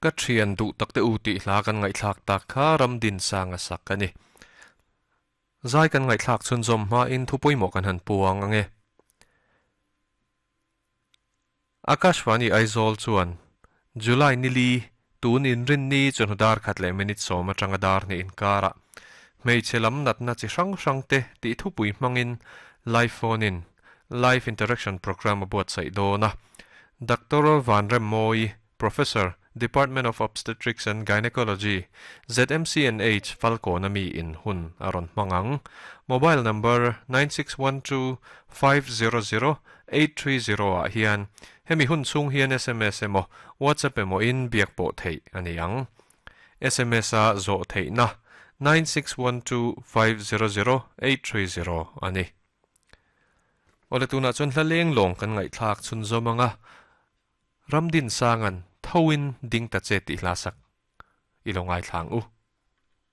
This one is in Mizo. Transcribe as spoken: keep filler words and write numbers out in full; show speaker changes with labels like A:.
A: Ka thian du takte u ti hla kan ngai thlak tak kha Ramdin Sanga sak ani. Zai kan ngai thlak chun zom ma in thupui mo kan han puang ange. Akashvani Aizawl chuan July nili tun in rin ni chun dar khat le minute sawm atanga dar ni inkara. Hmeichhe lam natna chi hrang hrang te tih thupui hmangin live phone in live interaction program a buatsaih dawn a. Doctor Van Remmoi, Professor, Department of Obstetrics and Gynecology, Z M C N H Falcon ami in hun a rawn hmang ang. Mobile number nine six one two five zero zero eight three zero ah hian hemi hun chhung hian S M S emaw WhatsApp emaw in biak pawh theih a ni ang. S M S a zawh theihna nine six one two five zero zero eight three zero a ni. Awle, tunah chuan hla leng lawng kan ngaihthlak chhun zawm anga, Ramdin Sangan Thoin Ding Ta Che tih hla sak i lo ngaithlang u.